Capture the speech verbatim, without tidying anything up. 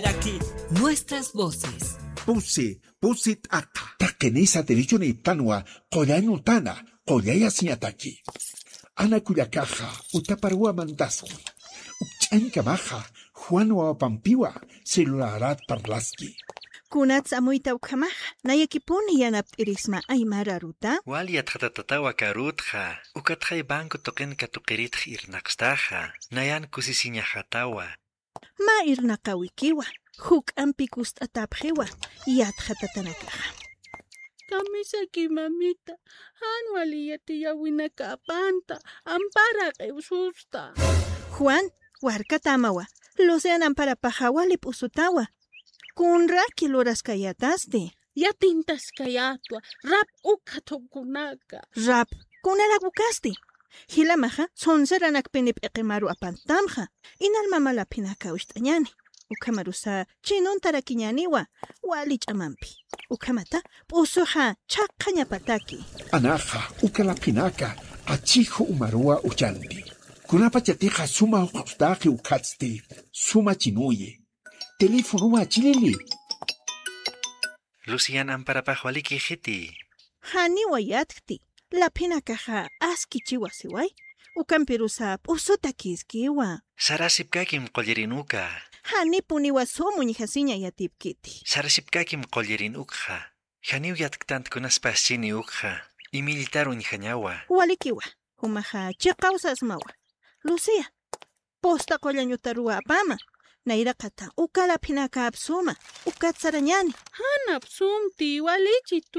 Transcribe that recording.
Aquí, nuestras voces. Pusi, pusi t'aqa. Taqinisa derechonïptanwa, qullañutana, qullayasiñataki. Ana kullakaxa, utaparuwa mantaski. Ukch'añkamaxa, Juan wawapampiwa, celularat parlaski. Kunats amuyta ukhamaxa, nayakipuni yanapt'irisma aymara aruta. Wal yatxatatatawa karutxa, ukatxay banco tuqin katuqiritx irnaqstaxa, nayan kusisiñaxatawa. Mä irnaqawikiwa, juk'ampi kust'atapxiwa, yatxatatanakaxa. Kamisaki mamita, jan wali yatiyäwinakapanta, ampara q'iwsusta. Juan, warkatämawa, Lucian amparapaxa wali p'usutawa. Kunraki luraskayätasti. Yatintaskayätwa, rap ukxa thukkunaka. Rap, kunarak ukasti. Jilamaxa, sonseranakpini p'iqimaru apantamxa. Inal mama laphinaka ucht'añani. Ukhamarusa, chinuntarakiñaniwa, wali ch'amampi. Ukhamata, p'usuxa, chhaqhañapataki. Anaxa, uka laphinaka, achixu umaruwa uchanti. Kunapachatixa suma juq'ustaqi ukhatsti, suma chinuyi. Teléfonowa chilili. Lucian amparapax walikixiti. Janiwa yatkti, laphinakaxa askichiwa siway, ukampirusa p'usutakïskiwa. Sarasipkakim qullirin uka. Janipuniwa sum uñjasiña yatipkiti. Sarasipkakim qullirin ukxa. Janiw yatktant kunaspas chini ukxa. Imillitar uñjañawa. Walikiwa, jumaxa chiqaw sasmawa. Lucía, posta qullañutaruwa apama. Nayraqata, uka laphinaka apsuma. Ukat sarañani. Jan apsumti, walichitu.